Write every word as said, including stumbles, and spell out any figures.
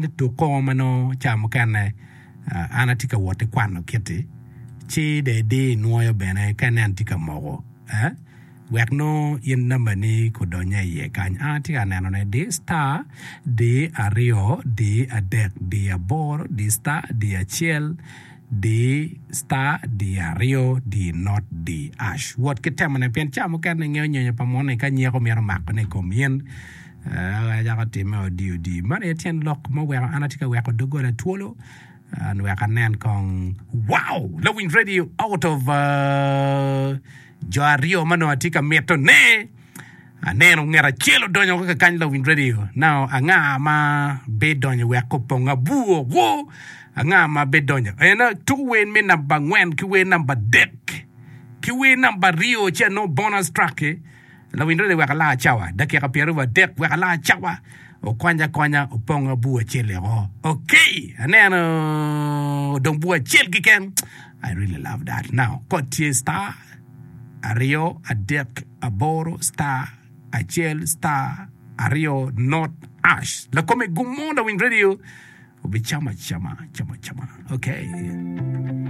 Ni tuk kongo ma nongo ca mukene an atye ka wot ki kwano kiti ci dong idi inwoyo bene ka inen tye ka moko wek nongo in nambani kudonye iye kany. An atye ka nenone di star di aryo di adek di aboro di star di acel di star di aryo di not di ash. Wot ki temone pien ca mukene ingeyo nyonyo pa munu-ni ka nyeko mito makone i kom in cako timme odi odi. Man aye tyen lok ma oweko an atye ka weko doggola twolo wek anen kong wow! Lawiny radio out of jo aryo ma nongo atye ka mitone aneno ngat acel odonyo woko kakany lawiny radio now anga ma bidonyo wek opong abur wo anga ma bidonyo en tuko wer me namba angwen ki wer namba adek ki wer namba aryo ci anongo bonus track-ki Lawiny rwede wek alar cawa dakika pyeraryo adek wek alar cawa okwany akwanya opong abur acel eko ok aneno odong bur acel keken I really love that now kod tye star aryo adek aboro star acel star aryo not ash lakome gum mo lawiny radio obicamo acama camo acama ok.